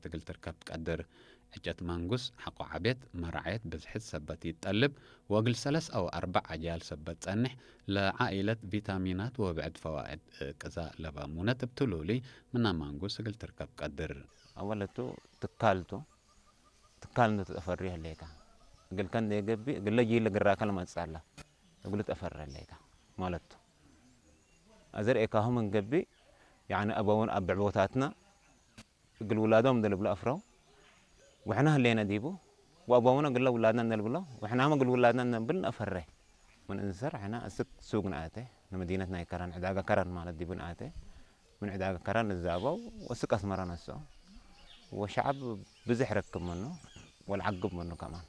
ትግል ትርከብ ትቀድር። ዕጨት ማንጉስ ሓቆ ዓቤት መራዓየት ብዝሕት ሰበት ይጠልብ ወግል ሰለስ ኣው ኣርባዕ ኣጃል ሰበት ጸንሕ ለዓኢለት ቪታሚናት ወብዕድ ፈዋእድ ቅዛ ለባሙነት እብትሉሊ ምና ማንጉስ እግል ትርከብ ቀድር። ኣወለቱ ትካልቱ ትካል እንተተፈሪ ህሌታ እግልከን ደገቢ እግለ ጂለ ግራከል መጻላ እግሉ ተፈሪ ህሌታ ማለቱ ኣዘር ኤካሁም እንገቢ ያኒ ኣበውን ኣብ ብዕቦታትና እግል ውላዶም እንደልብሎ ኣፍረው ውሕና ህሌና ዲቡ ወኣቦምና ግለ ውላድና እንደልብሎ ውሕናማ ግል ውላድና እንደንብል ነፈረ ምን እንሰር ሕና እስክ ሱግ ንኣተ ንመዲነት ናይ ከራን ዕዳጋ ከራን ማለት ዲቡ ንኣተ ምን ዕዳጋ ከራን ንዛበው ወስቅ ኣስመራ ነሶ ወሸዓብ ብዙሕ ረክብ መኑ ወልዓግብ መኑ ከማን